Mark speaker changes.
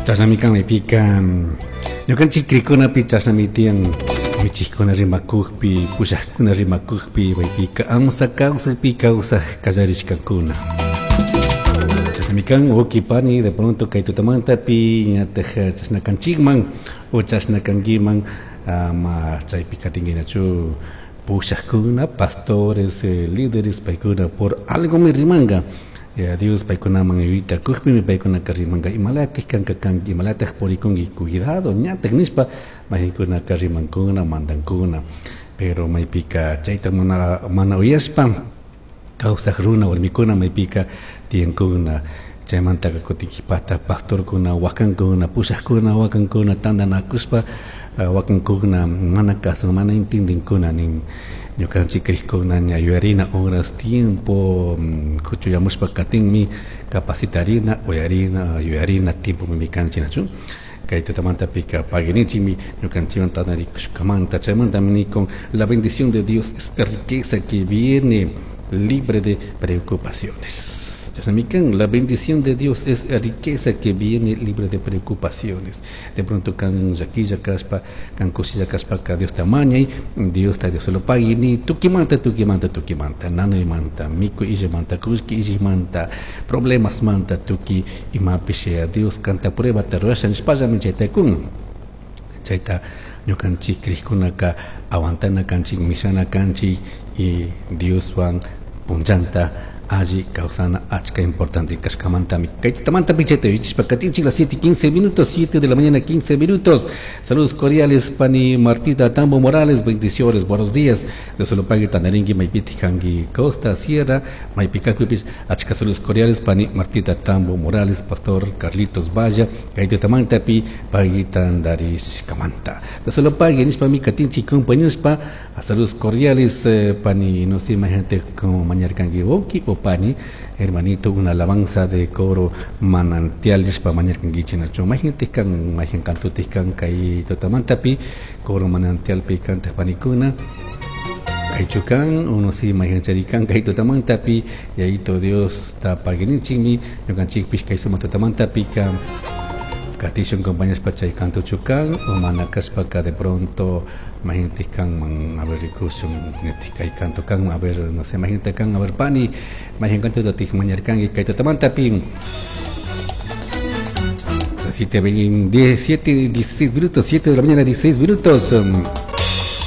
Speaker 1: Chashnami kan maypika ñukanchik crikunapi chashnami tiyan michijkuna rimakukpi pushajkuna rimakukpi maypika amsa kawsaypi kawsaj kallarishkakuna. Chashnami kan wawki pani de pronto kay tutamantapi ñataj chashna kanchikman o chashna kankiman ama chaypi katinkinachu pushajkuna pastores líderes paykuna por algomi rimanka. Dios paykunaman yuyayta kukpimi paykunaka rimanka imalatik kanka kanki imalatak purikunki cuidado ñatak nishpa maykankunaka rimankuna mandankuna pero maypika chayta mana mana uyashpa kawsak runa warmikuna maypika tiyankuna chaymantaka kutin kipata pastorkuna wakankuna pushakuna wakankuna tantanakushpa wakankuna mana kasun mana entendinkuna nin ñukanchik crikuna ña yuyarina horas tiempo kuchuyamushpa katinmi capacitarina uyarina yuyarina tiempomi kanchik nachu kay tutamantapika paguinichikmi ñukanchikwan tantarikushkamanta chaymantami nikun la bendición de Dios es riqueza que viene libre de preocupaciones. Chashnami kan la bendición de Dios es riqueza que viene libre de preocupaciones. De pronto kan llaquilla kashpa, kan kushilla kashpaka Diosta mañay, Diosta Dios lo pague ni tukimanta, tukimanta, tukimanta, nanaymanta, mikuy illamanta, kullki illamanta, problemas manta, tuki imapish Dios kanta pruebata rurasha nishpallami chayta kun. Chayta ñukanchik crikkunaka aguantana kanchik, mishana kanchik y Dioswan punllanta alli kawsana achka importante kashkamantami kay tutamanta chayta yuyachishpa katinchik las 7 15 minutos, 7 de la mañana 15 minutos. Saludos cordiales pani Martita Tambo Morales, bendiciones, buenos días. Dios lo pague tanaringi maypiti kangi Costa Sierra, maypikakupish achka saludos cordiales pani Martita Tambo Morales, pastor Carlitos Valla, kay tutamantapi pagitandarishkamanta. Dios lo pague nishpami katinchik compañeros pa saludos cordiales pani no sé imagínate como mañarkangi wawki o pani hermanito una alabanza de coro manantial nishpa mañarkankichik nachu mayjintik kan mayjin kantutik kan kay tutamantapi coro manantialpi kantaq panikuna kaychu kan uno si mayjin charikan kay tutamantapi yayito Dios ta paguininchikmi ñukanchikpish kay sumaq tutamantapi ka katishun compañeros chay kantuchu kan o mana kashpaka de pronto mayjintik kanman a ver rikushun kay kanto kan a ver no sé mayjinta kan a ver pani mayjin kantuta tik mañarkanki kay tutamantapi 7, 17, 16 minutos, 7 de la mañana, 16 minutos.